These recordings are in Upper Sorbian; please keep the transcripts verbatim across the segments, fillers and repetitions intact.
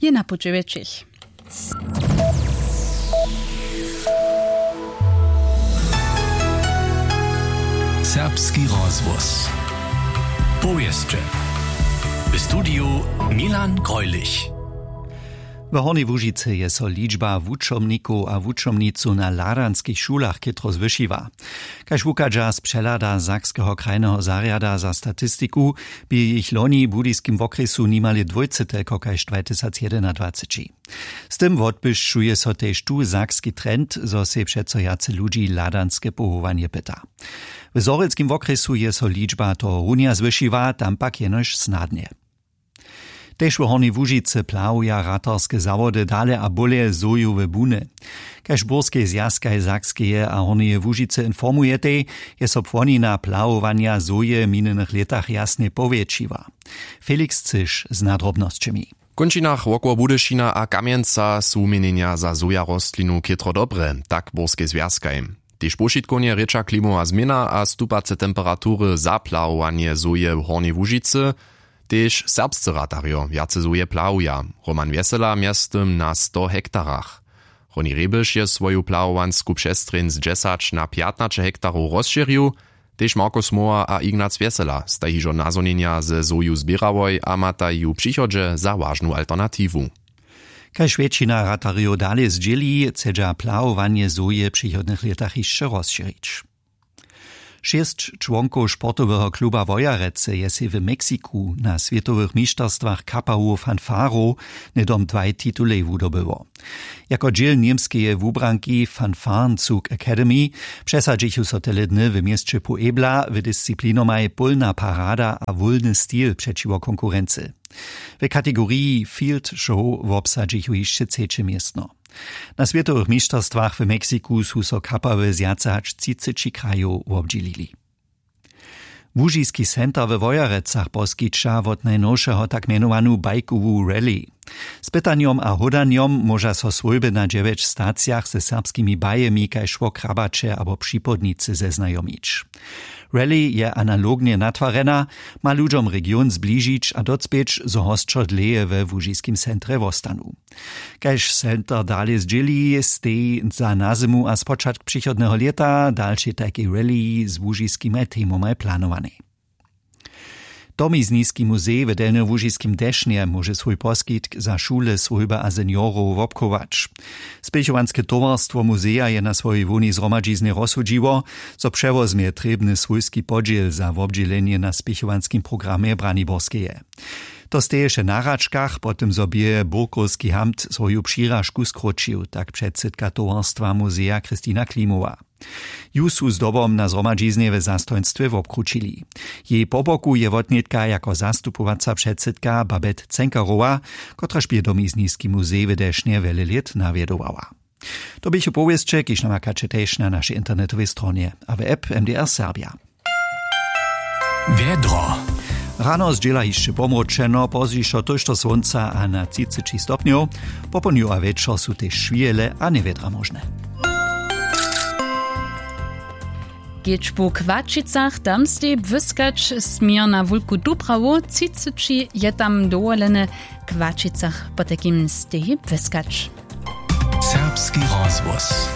je na puće wjetšich. Serbski rozhłos. Powěsće. W studiju Milan Greulich. W Hornjej Łužicy je so ličba wučomnikow a wučomnicow na hladanskich šulach chětro zwyšiła. Kaž wuchadźa z přehlada Sakskeho krajneho zarjada za statistiku, bě jich loni w budyskim wokrjesu nimale dwójce telko kaž dwajtysacjedynadwaceći. Z tym wotbłyšćuje so tež tu sakski trend, zo sej přeco wjace ludźi hladanske powołanje pyta. W zhorjelskim wokrjesu je so ličba tohorunja zwyšiła, tam pak jenož snadnje. Tež w Hornjej Łužicy plahuja ratarske zawody dale a bóle zhojowe buny. Kaž burskej zwjazkaj Sakskeje a Hornjeje Łužicy informujetej, je so płonina plahowanja zhoje w minjenych lětach jasnje powjetšiła. Felix Cyš z nadrobnosćemi. W kónčinach wokoło Budyšina a Kamjenca su wuměnjenja za zhojarostlinu chětro dobre, tak burskej zwjazkaj. Tež powšitkownje rěča klimowa změna a stupace temperatury za plahowanje zhoje w Hornjej Łužicy. Tež serbscy ratarjo wjace zhoje plahuja. Roman Wjesela mjeztym na sto hektarach. Honi Rebiš je swoju plahowansku přestrjeń z dźesać na pjatnaće hektarow rozšěrił. Tež Markus Mohr a Ignac Wjesela staj hižo nazhonjenja ze zhoju zběrałoj a mataj ju w přichodźe za wažnu alternatiwu. Kaž wjetšina ratarjow dale zdźěli, chcedźa plahowanje zhoje w přichodnych lětach hišće rozšěrić. Šěsć čłonkow sportoweho kluba Wojerecy je sej w Meksiku na swětowych mišterstwach kapawu fanfarow hnydom dwaj titulej wudobyło. Jako dźěl němskeje wubranki Fanfarenzug Academy přesadźichu so tele dny w měsće Puebla w disciplinomaj pólna parada a wólny stil přećiwo konkurency. W kategoriji Field Show wobsadźichu hišće třeće městno. Na swětowych mišterstwach w Meksiku su so kapawy z wjace hač třiceći krajow wobdźělili. Łužiski center we Wojerecach poskića wot najnowšeho tak mjenowanu bajkowu rally. Z pytanjom a hódanjom móža so swójby na dźewjeć stacijach ze serbskimi bajemi kaž wo Krabaće abo Připódnicy zeznajomić. Rally je analognje natwarjena, ma ludźom region zbližić a docpěć, zo hosćo dlěje we łužiskim centrje wostanu. Kaž center dale zdźěli, stej za nazymu a spočatk přichodneho lěta dalšej tajkej rally z łužiskimaj temomaj planowanej. Domizniski muzej w delnjołužiskim Dešnje móže swój poskitk za šule, swójby a seniorow wobchować. Spěchowanske towarstwo muzeja je na swojej hłownej zhromadźiznje rozsudźiło, zo přewozmje trěbny swójski podźěl za wobdźělenje na spěchowanskim programje Braniborskeje. To steješe na hračkach, po tym zo bě burkowski hamt swoju přiražku skróćił, tak předsydka towarstwa muzeja Christina Klimowa. Ju su zdobom na zhromadźiznje w zastojnstwje wobkrućili. Jej po boku je wotnětka jako zastupowaca předsydka Babette Cenkarowa, kotraž bě domizniski muzej w Dešnje wjele lět nawjedowała. To běchu powěsće, kiž namakaće tež na našej internetowej stronje a w app M D R Serbia. Wjedro. Rano zdźěla hišće pomróčeno, pozdźišo tójšto słónca a na třiceći stopnjow. Popołdnju a wječor su tež šwihele a njewjedra móžne. Kedź po Kłačicach tam stej błyskać směr na Wulku Dubrawu, třiceći je tam dowolene, w Kłačicach potajkim stej błyskać. Serbski rozhłos.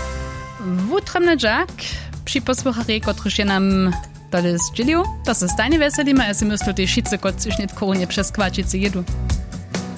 Wutrobny dźak při posłucharjej, kotryž je nam tole zdźělił. To so stajnje wjeselimy a ja sej myslu, tež wšitcy, kotřiž nětko runje přez Kłačicy jědu.